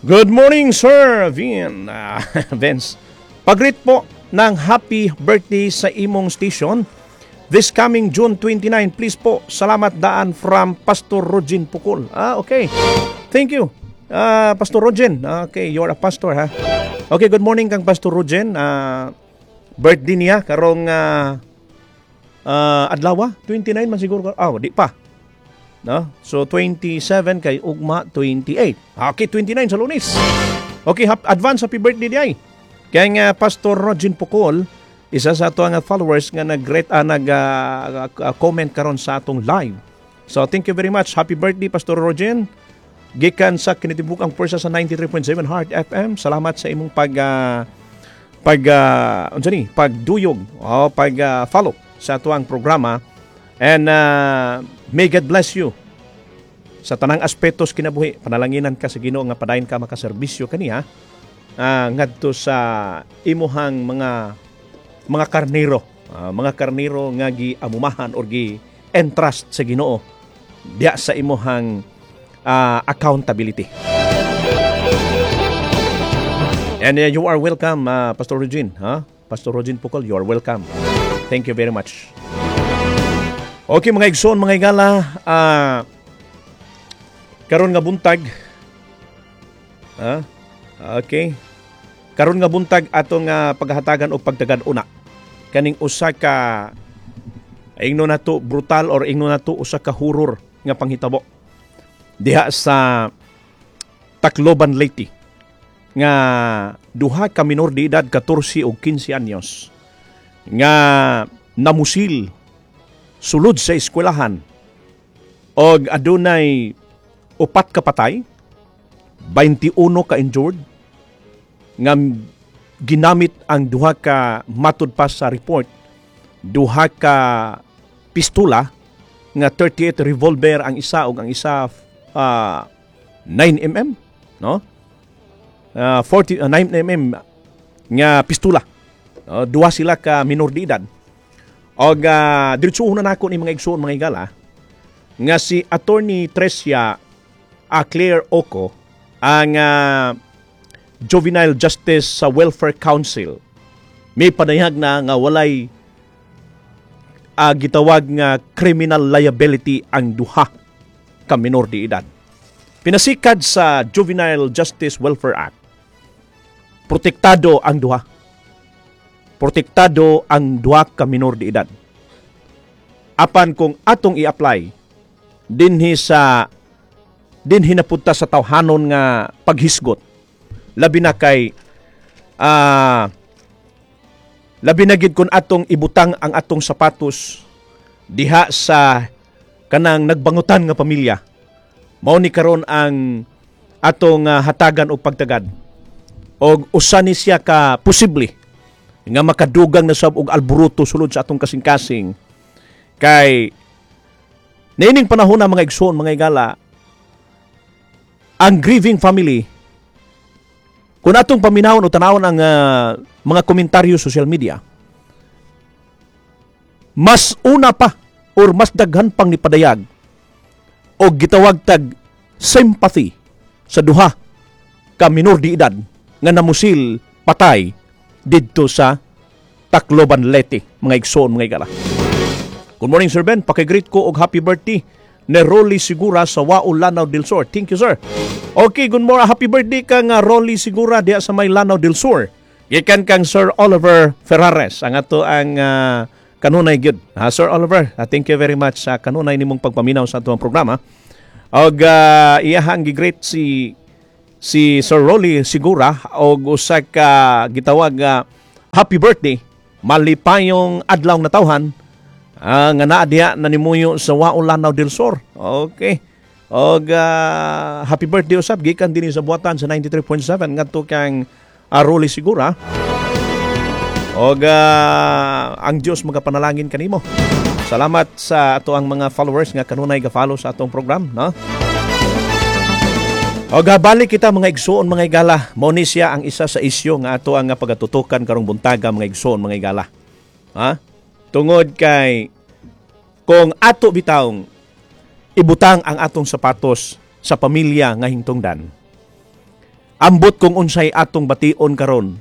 Good morning, Sir Vin. Vince. Pag-greet po ng happy birthday sa imong station this coming June 29. Please po, salamat daan from Pastor Rogin Pukul. Ah, okay. Thank you. Pastor Rogin. Okay, you're a pastor, ha? Okay, good morning kang Pastor Rogin. Birthday niya karong adlaw, 29 man siguro. Ah, di pa. No? So 27 kay ugma 28. Okay, 29 sa Lunes. Okay, advance happy birthday diay kay nga Pastor Rogin Pukol, isa sa ato nga followers nga nag-greet, nag comment karon sa atong live. So thank you very much. Happy birthday, Pastor Rogin. Gikan sa kinitibukang pwersa sa 93.7 Heart FM. Salamat sa imong pag pag unsa ni, pagduyog o pag follow sa atuang programa and may God bless you sa tanang aspetos kinabuhi. Panalanginan ka sa Ginoo nga padayon ka makaserbisyo kaniya ngadto sa imuhang mga karnero, mga karnero nga giamumahan or gi entrust sa Ginoo diya sa imuhang accountability. And you are welcome, Pastor Regine, ha? Pastor Regine Pukol, you are welcome. Thank you very much. Okay, mga igsoon, mga higala, karon nga buntag, okay. Karon nga buntag atong paghatagan og pagtagad una kaning usa ka, ingno nato brutal or ingno nato usa ka horror nga panghitabo diha sa Tacloban, Leyte, nga duha ka minor de edad, 14 ug 15 anyos, nga namusil sulod sa eskwelahan og adunay upat ka patay, 21 ka injured, nga ginamit ang duha ka, matud pa sa report, duha ka pistola nga 38 revolver ang isa ug ang isa 9 mm, no, 40 9 mm nga pistola. Duha sila ka minor de edad. Og diretso na nako ni, mga igsoon, mga higala, nga si Attorney Tresia Claire Oco, ang Juvenile Justice sa Welfare Council, may panayag na nga walay gitawag nga criminal liability ang duha ka minor de edad. Pinasikad sa Juvenile Justice Welfare Act, protektado ang duha. Protektado ang duha ka minor de edad. Apan kung atong i-apply dinhi napunta sa tawhanon nga paghisgot, labi na kay labi na gid kung atong ibutang ang atong sapatos diha sa kanang nagbangutan nga pamilya. Mao ni karon ang atong hatagan og pagtagad og usa ni siya ka posible nga makadugang na sab og alburuto sulod sa atong kasing-kasing, kay niining panahon na, mga igsoon, mga higala, ang grieving family, kung atong paminawon o tanawon ang mga komentaryo social media, mas una pa or mas daghan pang nipadayag o gitawag tag sympathy sa duha ka minor de edad nga namusil patay didto sa Tacloban, Leyte, mga igsoon, mga higala. Good morning, Sir Ben. Paki-greet ko og happy birthday ni Rolly Sigura sa Wao, Lanao del Sur. Thank you, sir. Okay, good morning. Happy birthday kang Rolly Sigura diha sa may Lanao del Sur. Gikan kang Sir Oliver Ferrares. Ang ato ang kanunay gyud. Sir Oliver, thank you very much sa kanunay nimong pagpaminaw sa atong programa. Og iyahang gi-greet si Sir Rolly Sigura og usa ka gitawag nga happy birthday, malipayong adlaw na tawhan nga naa diha nanimuyo sa Wao, Lanao del Sur. Okay. Og happy birthday usab gikan dinhi sa buhatan sa 93.7 ngadto kang Rolly Sigura. Og ang Dios magapanalangin kanimo. Salamat sa ato ang mga followers nga kanunay ga-follow sa atong program, no? Og balik kita, mga igsoon, mga higala. Mao ni siya ang isa sa isyu nga ato ang pagatutukan karong buntaga, mga igsoon, mga higala. Ha? Tungod kay kung ato bitawng ibutang ang atong sapatos sa pamilya nga hingtungdan. Ambot kung unsay atong bation karon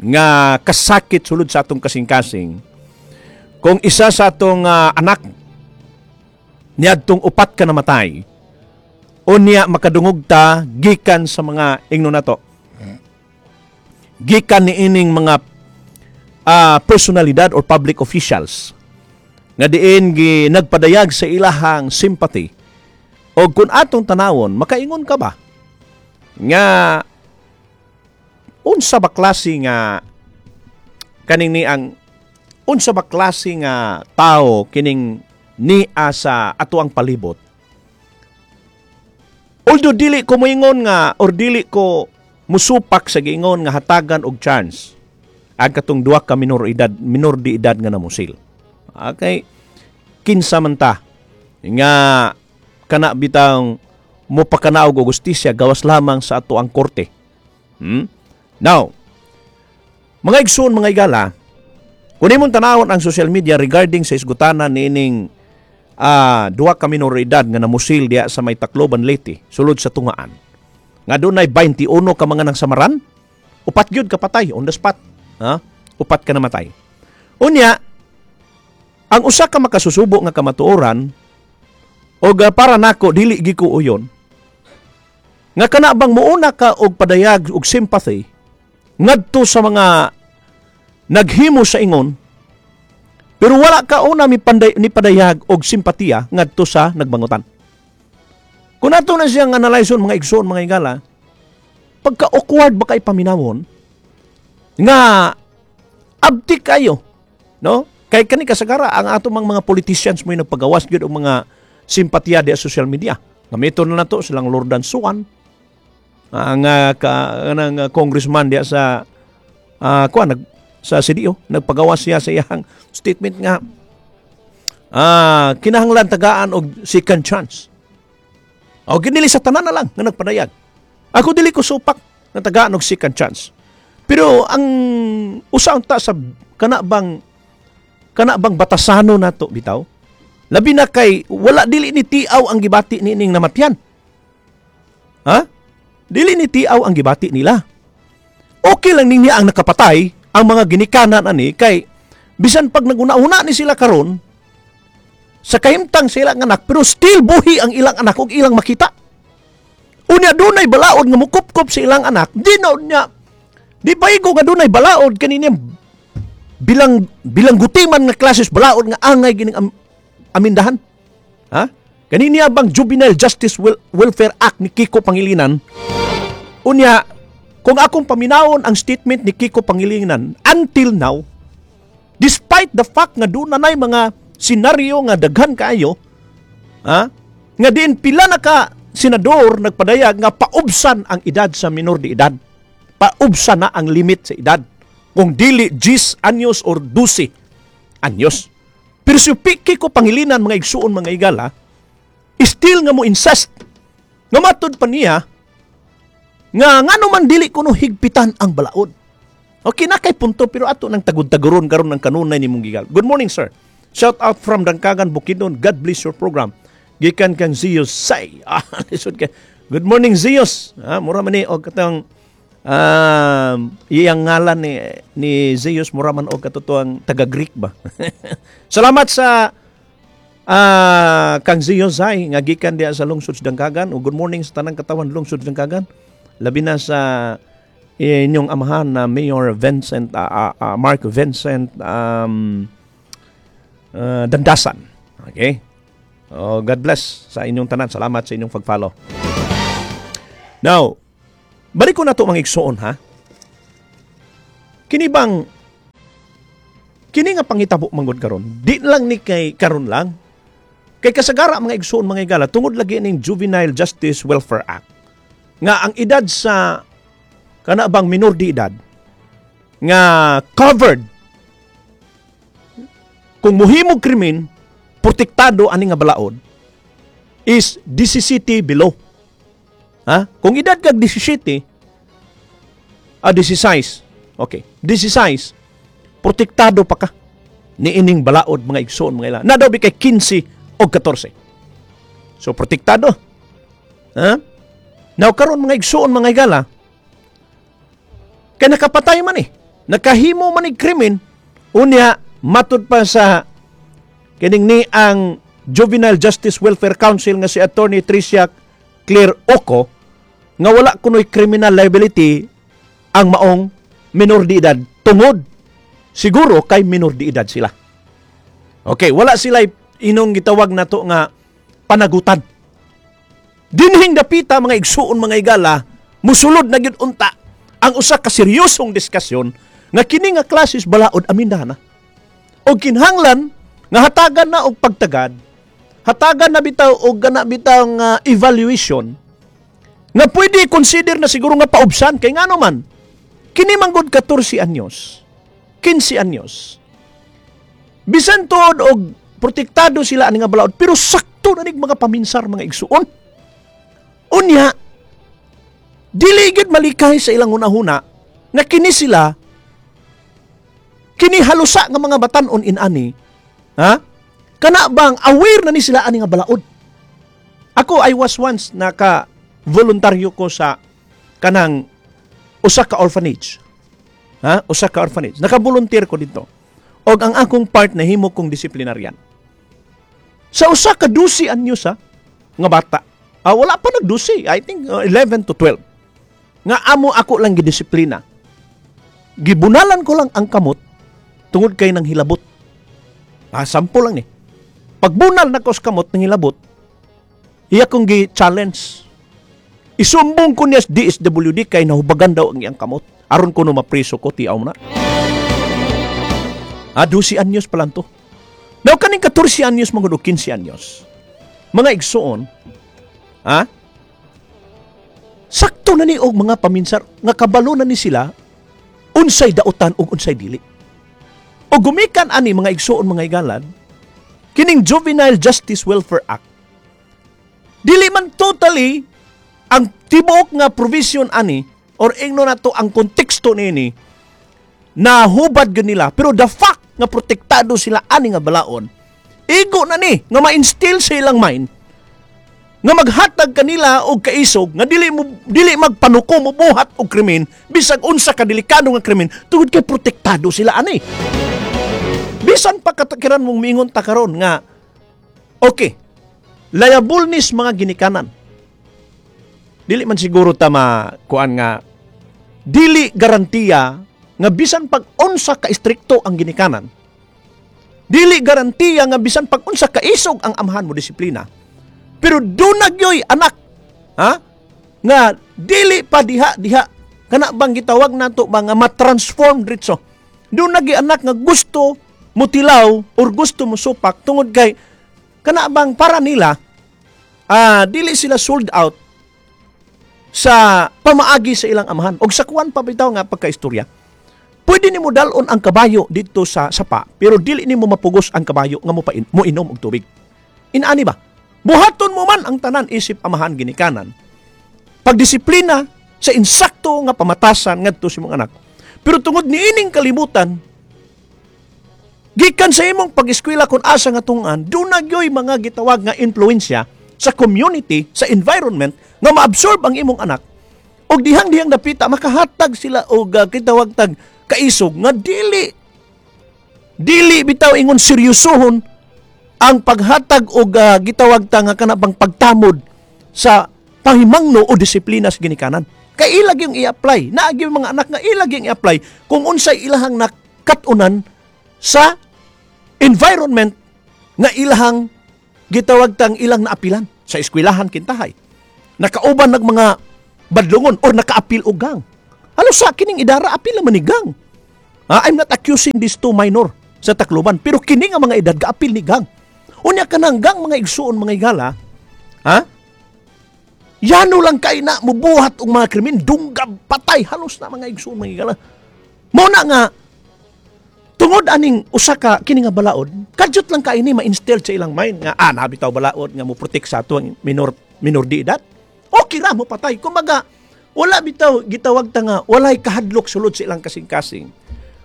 nga kasakit sulod sa atong kasing-kasing kung isa sa atong anak niadtong upat ka namatay, unya makadungog ta gikan sa mga ingno nato, gikan ni ining mga personalidad or public officials nga diin gi nagpadayag sa ilahang sympathy. O kung atong tanawon, makaingon ka ba nga unsa ba klase nga kaning ni ang unsa ba klase nga tao kining nia sa ato ang palibot? Although dili ko moingon nga or dili ko musupak sa giingon nga hatagan og chance ang katong duha ka minor di edad nga namusil. Okay, kinsa man ta nga kana bitang mopakanaog og hustisya gawas lamang sa ato ang korte? Now, mga igsoon, mga igala, kung imong tanawon ang social media regarding sa isgutanan niining duha ka minor edad nga namusil diya sa may Tacloban, Leyte, sulod sa tungaan. Nga dunay 21 ka mga nang samaran, upat gyud ka patay on the spot. Ha? Upat ka namatay. Unya, ang usa ka makasusubo nga kamatuoran og para nako dili gi ko uyon nga kana bang muuna ka og padayag og sympathy ngadto sa mga naghimo sa ingon, pero wala ka una mi panday, ni padayag og simpatiya ngadto sa nagbangutan. Kung ato na siyang analyson, mga igsoon, mga igala, pagka awkward ba kay paminawon nga abtik kayo, no? Kay kani kasagara ang ato mang mga politicians mo nagpagawas gyud og mga simpatiya di sa social media. Gamiton na nato silang Lordan Suan, ang ka kanang congressman diya sa kuan nag sa CDO, nagpagawas siya sa iyang statement nga kinahanglan tagaan og second chance. O ginili sa tanan na lang nga nagpadayag. Ako, dili ko supak nga tagaan og second chance. Pero ang usa unta sa kana bang batasano nato bitaw. Labi na kay wala, dili ni tiaw ang gibati ni ining namatyan. Ha? Dili ni tiaw ang gibati nila. Okay lang niya ang nakapatay ang mga ginikanan ani, kay bisan pag naguna-una ni sila karon sa kahimtang sa ilang anak, pero still buhi ang ilang anak ug ilang makita. Unya dunay balaod nga mukupkop sa ilang anak, di na unya di paigo nga dunay balaod kanini bilang bilang gutiman nga klases balaod nga angay gining amindahan. Ha? Kanini bang Juvenile Justice Welfare Act ni Kiko Pangilinan? Unya, kung akong paminawon ang statement ni Kiko Pangilinan until now, despite the fact nga doon na mga senaryo nga daghan kaayo, ha? Nga diin pila na ka senador nagpadayag nga paubsan ang edad sa minor de edad. Paubsan na ang limit sa edad. Kung dili 10 anyos or 12 anyos. Pero si Kiko Pangilinan, mga igsuon, mga igala, still nga mo insist nga matud pa niya nga ngano man dili kuno higpitan ang balaod. Okay na kay punto, pero ato nang tagud-taguron karon ng kanunay ni mong gigal. Good morning, sir. Shout out from Dangkagan, Bukidnon. God bless your program. Gikan kang Zeus Say. Ah, lisod kay. Good morning, Zeus. Ah, mura man ni og katong iyang ngalan ni Zeus, mura man og katotoang taga Greek ba. Salamat sa kang Zeus Say nga gikan diha sa lungsod sa Dangkagan. O good morning sa tanang katawan lungsod sa Dangkagan. Labi na sa inyong amahan na Mayor Vincent Mark Vincent Dandasan. Okay? Oh, God bless sa inyong tanan. Salamat sa inyong pag-follow. Now, balik ko na to, mga igsoon, ha. Kini bang kini nga pangitabo manggod karon, di lang ni kay karon lang. Kay kasagara, mga igsoon, mga igala, tungod lagi ning Juvenile Justice Welfare Act nga ang edad sa kana bang minor de edad nga covered kung muhimog krimen, protektado ani nga balaod is 17 below. Ha? Kung edad kag 17, 16. Okay. 16, protektado pa ka ni ining balaod, mga igsoon, mga ila. Na daw bi kay 15 o 14. So protektado. Ha? Now karon, mga igsoon, mga igala, Kay nakapatay man eh. Nakahimo man ni krimen. Unya, matud pa sa kining ni ang Juvenile Justice Welfare Council nga si Attorney Tricia Claire Oco nga wala kunoy criminal liability ang maong minor de edad tungod siguro kay minor de edad sila. Okay, wala sila inong gitawag nato nga panagutan. Dinhing dapita, mga igsuon, mga igala, musulod na gyud unta ang usa ka seryosong diskusyon nga kini nga klases balaod aminda na. Og kinahanglan nga hatagan na og pagtagad, hatagan na bitaw og gana bitaw nga evaluation nga pwede consider na siguro nga paubsan kay ngano man kini manggod 14 anyos, 15 anyos. Bisan tuod og protektado sila ani nga balaod, pero sakto na nig mga paminsar, mga igsuon. Unya, dili gid malikay sa ilang hunahuna nga kini sila, kini halusa nga mga batan-on inani, ha? Kana bang aware na ni sila ani nga balaod? Ako, I was once naka voluntaryo ko sa kanang usa ka orphanage. Ha? Usa ka orphanage. Naka-volunteer ko dito. Og ang akong part na himo kong disiplinaryan. Sa usa ka 12 anyos ha, nga bata. Ah, wala pa nag-12. I think 11 to 12. Nga amo ako lang gidisiplina. Gibunalan ko lang ang kamot tungod kay nang hilabot. Ah, sample lang ni. Pagbunal na ko sa kamot nang hilabot, iya kong gi-challenge. Isumbong ko niya sa DSWD kay nahubagan daw ang iyang kamot. Aron ko no mapriso ko, tiaw mo na. Ah, 12 anyos pa lang to. Now, kaning 14 anyos, mga 15 anyos. Mga igsuon, ha? Sakto na ni og mga paminsar nga kabalo na ni sila unsay dautan ug unsay dili. O gumikan ani, mga igsuon, mga igalan, kining Juvenile Justice Welfare Act, dili man totally ang tibuok nga provision ani or ingno nato ang konteksto niini na hubad gyud nila, pero the fact nga protektado sila ani nga balaod, igo na ni nga ma-instill sa ilang mind nga maghatag kanila og kaisog nga dili magpanuko mo buhat og krimen bisag unsa ka delikado nga krimen tungod kay protektado sila ani. Bisan pa katakiran mong miingon ta karon nga okay, liable nis mga ginikanan, dili man siguro ta kuan nga dili garantiya nga bisan pag unsa ka istrikto ang ginikanan, dili garantiya nga bisan pag unsa ka isog ang amahan mo disiplina, pero duna gyoy anak, ha, nga dili pa diha diha kana bang gitawag nato ba nga ma-transform diretso. Duna gyud anak nga gusto mutilaw or gusto mo supak tungod kay kana bang para nila dili sila sold out sa pamaagi sa ilang amahan. Og sa kuan pa bitaw nga pagkaistorya, pwede nimo dalon ang kabayo dito sa sapa, pero dili nimo mapugos ang kabayo nga mo inom og tubig. Inaani ba? Buhaton mo man ang tanan isip amahan ginikanan. Pagdisiplina sa insakto nga pamatasan ngadto sa imong anak. Pero tungod niining kalibutan, gikan sa imong pag-eskwela kung asa nga tungan, duna gyoy mga gitawag nga influensya sa community, sa environment nga maabsorb ang imong anak. Og dihang-dihang dapita makahatag sila og kitawag tag kaisog nga dili dili bitaw ingon seryosohon ang paghatag og gitawag ta nga kana bang pagtamod sa pahimangno o disiplina sa ginikanan. Kay ilag yung i-apply. Naagi yung mga anak nga ilag yung i-apply kung unsay ilahang nakat-unan sa environment nga ilahang gitawag tang ilang naapilan sa eskwelahan kintahay. Nakauban nag mga badlongon or nakaapil og gang. Halos sa kining idara apil naman ni gang. Ah, I'm not accusing these two minor sa Tacloban, pero kini nga mga edad gaapil ni gang. Unya kanang gang, mga igsuon, mga igala, ha? Yano lang kay na mubuhat og mga krimen, dunggab, patay, halos na, mga igsuon, mga igala. Mo na nga tungod aning usa ka kini nga balaod, kadyot lang kay ni ma-instill sa ilang mind nga naa bitaw balaod nga mo protect sa ato ang minor minor de edad. Okay ra mo patay. Kumbaga, wala bitaw gitawag ta nga walay kahadlok sulod sa ilang kasing-kasing.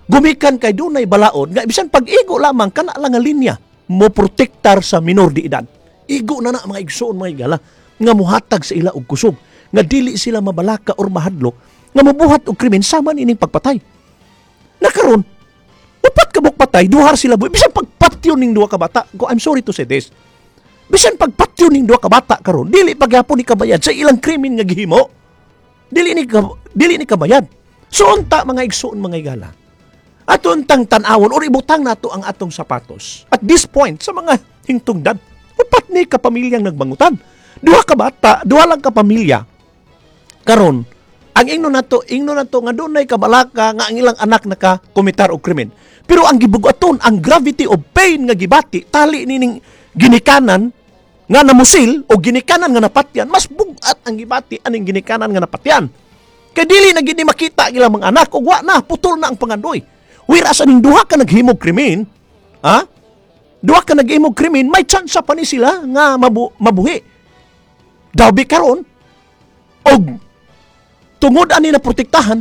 Gumikan kay dunay balaod nga bisan pag-igo lamang kana lang nga linya mo protektar sa minor de edad. Igo na na, mga igsuon, mga igala, nga muhatag sa ila og kusog. nga dili sila mabalaka or mahadlok nga mabuhat og krimen sama nining pagpatay. Nakaron, upat ka buok patay, duha sila buhi. Bisan pagpatyon ning duha ka bata, go, I'm sorry to say this. Bisan pagpatyon ning duha ka bata karon, dili pagyapon ni kabayad sa ilang krimen nga gihimo. Dili ni kabayad. So unta, mga igsuon, mga igala, ato untang tan-awon or ibutang nato ang atong sapatos. At this point, sa mga hingtungdan, upat ni ka pamilyang nagbangutan. Duha ka bata, duha lang ka pamilya. Karon, ang ingno nato nga dunay kabalaka nga ang ilang anak naka komitar og krimen. Pero ang gibugaton, ang gravity of pain nga gibati, tali nining ginikanan nga namusil o ginikanan nga napatyan, mas bugat ang gibati aning ginikanan nga napatyan. Kay dili na gid ni makita ang ilang mga anak ug wa na, putol na ang pangandoy. Whereas aning duha ka naghimog krimen, ha? Duha ka naghimog krimen, may chance pa ni sila nga mabuhi. Daw karon og tungod ani na protektahan,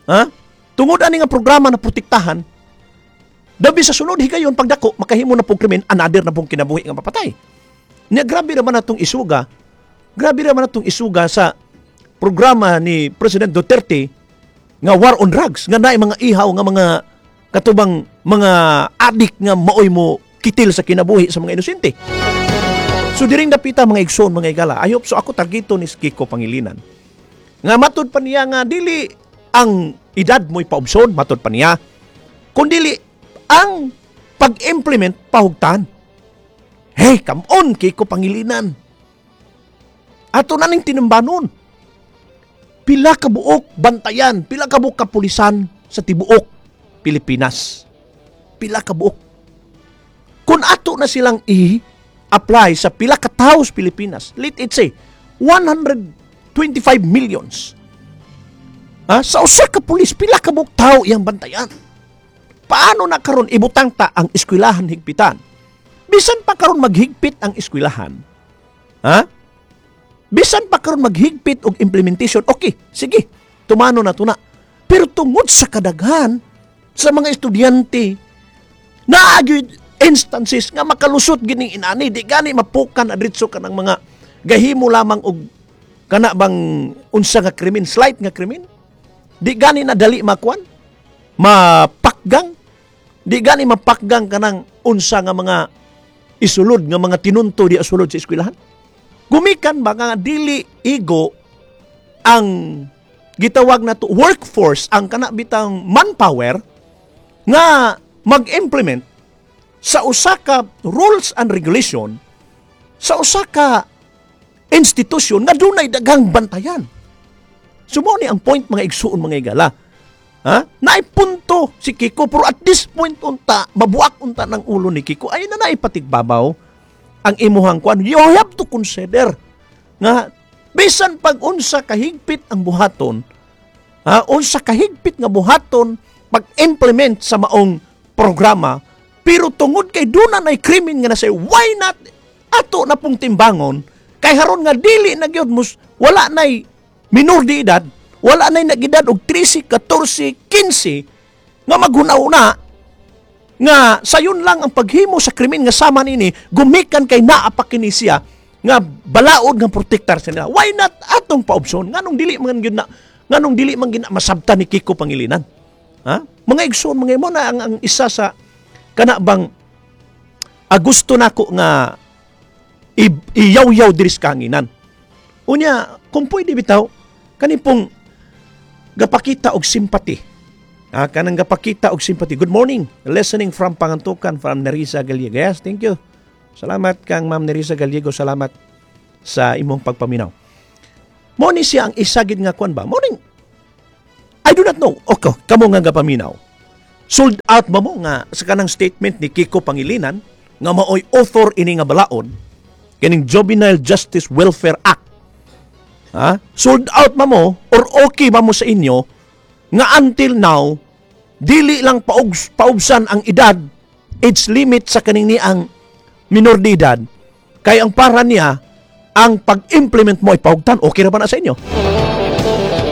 ha? Tungod ani nga programa na protektahan, dabi sa sunod higayon pagdako makahimo na pong krimen, another na pong kinabuhi nga mapatay. Nya grabe naman atong isuga. Grabe naman atong isuga sa programa ni President Duterte nga war on drugs, nga naay mga ihaw nga mga katubang mga adik nga maoy mo kitil sa kinabuhi sa mga inosente. So diring dapita, mga igsoon, mga igala, I hope so ako targeto ni Kiko Pangilinan. Nga matud pa niya nga dili ang edad mo'y paubson, matud pa niya, kundili ang pag-implement pahugtan. Hey, come on, Kiko Pangilinan. Ato na ning tinambanon. Pila ka buok bantayan, pila ka buok kapulisan sa tibuok Pilipinas. Pila ka buok. Kung ato na silang i-apply sa pila ka tawo sa Pilipinas, let it say, 125 millions. Ha? Sa usa ka pulis, pila ka buok tao iyang bantayan. Paano na karon ibutang ta ang eskwelahan higpitan? Bisan pa karon maghigpit ang eskwelahan. Ha? Bisan pa karon maghigpit og implementation, okay, sige, tumano na to na. Pero tungod sa kadaghan sa mga estudyante, naa gyud instances nga makalusot gining inani, di gani mapukan adritso ka ng mga gahimo lamang og kana bang unsa nga krimen, slight nga krimen. Di gani na dali makuan, mapakgang. Di gani mapakgang kanang unsa nga mga isulod nga mga tinunto di sulod sa eskwelahan. Gumikan ba nga dili igo ang gitawag na to workforce, ang kana bitang manpower nga mag-implement sa usa ka rules and regulation sa usa ka institusyon nga dunay daghang bantayan? So mo ni ang point, mga igsuon, mga igala. Ha? Naay punto si Kiko, pero at this point unta mabuak unta ng ulo ni Kiko ay na naipatigbabaw ang imuhang kuan. You have to consider nga bisan pag unsa kahigpit ang buhaton, ha, unsa kahigpit nga buhaton pag-implement sa maong programa, pero tungod kay duna nay krimen nga nasa, why not ato na pong timbangon kay haron nga dili na gyud mus wala nay minor de edad, wala nay nag-edad og 13, 14, 15 nga maghuna-una nga sayon lang ang paghimo sa krimen nga sama nini gumikan kay naa pa kini siya nga balaod nga protektar sa nila. Why not atong paopsyon? Nganong dili man gyud na masabtan ni Kiko Pangilinan, ha, mga igsoon, mga imo na ang isa sa kana bang gusto nako nga iyaw-yaw diri sa kahanginan. Unya, kung pwede bitaw kani pong gapakita og sympathy. Ah, kanang gapakita og sympathy. Good morning. Listening from Pangantukan, from Nerissa Gallego. Yes, thank you. Salamat kang Ma'am Nerissa Gallego. Salamat sa imong pagpaminaw. Mo ni siya ang isa gid nga kuan ba? Morning. I do not know. Okay, kamo nga gapaminaw. Sold out ba mo nga sa kanang statement ni Kiko Pangilinan nga maoy author ini nga balaod kining Juvenile Justice Welfare Act? Ha? Sold out ba mo or okay ba mo sa inyo nga until now dili lang paubsan ang edad, age limit sa kaning ni ang minor de edad, kay ang para niya ang pag-implement mo ay pahugtan? Okay ra ba na sa inyo?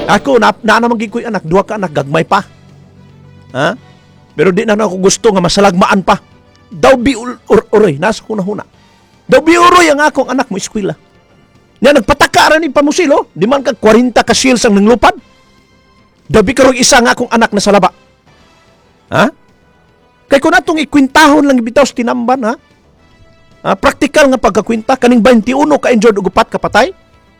Ako na, na naman gid ko'y anak, duha ka anak, gagmay pa, ha, pero di na ako gusto nga masalagmaan pa. Daw bi uroy nasa huna-huna, daw bi uroy ang akong anak mo eskwela. Nya nagpataka ra ni pamusil, oh. Di man kag 40 ka shells ang nanglupad. Dabi karong isa nga akong anak na sa laba. Ha? Kay kung atong ikwintahon lang bitaw sa tinamban, ha? Ha? Praktikal nga pagkakwinta, kaning 21 ka injured ug 4 ka patay.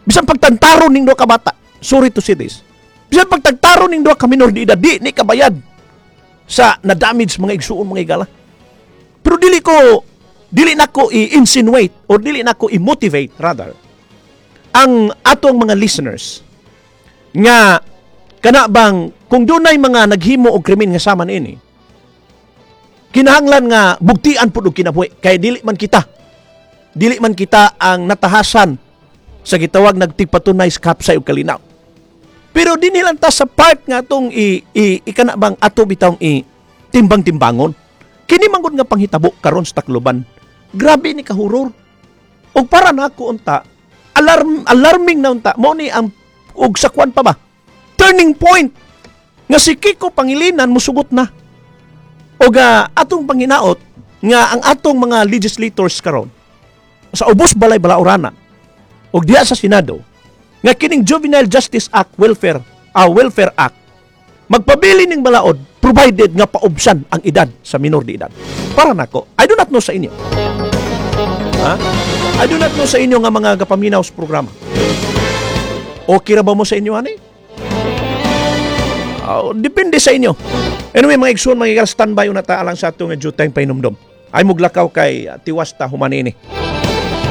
Bisan pagtantaro ning duha ka bata. Sorry to say this. Bisan pagtagtaro ning duha ka minor de edad, di ni kabayad sa na-damage, mga igsuon, mga igala. Pero dili nako i-insinuate or dili nako i-motivate rather ang atong mga listeners nga kana bang kung dunay mga naghimo og krimen nga sama niini, kinahanglan nga bugtian pud og kinabuhi, kay dili man kita ang natahasan sa gitawag nagtigpatunay sa kapsay og kalinaw. Pero dinhi lang ta sa part nga atong i, ikana bang ato bitawng i timbang-timbangon kini manggod nga panghitabo karon sa Tacloban. Grabe ni kahuror og para nako unta alarming na unta mo ni ang og sa kwan pa ba, turning point nga si Kiko Pangilinan musugot na. Og atong panghinaot nga ang atong mga legislators karon sa ubos balay balaurana og diha sa Senado nga kining Juvenile Justice Act, Welfare Act, magpabili ning balaod provided nga paubsan ang edad sa minor de edad. Para nako, I do not know sa inyo. Ha? I do not know sa inyo nga mga gapaminaw sa programa. Okay ra ba mo sa inyo ani? Oh, depende sa inyo. Anyway, mga igsoon, mga igala, standby na ta alang sa atong due time pahinumdom. Ay muglakaw kay tiwas ta human ini.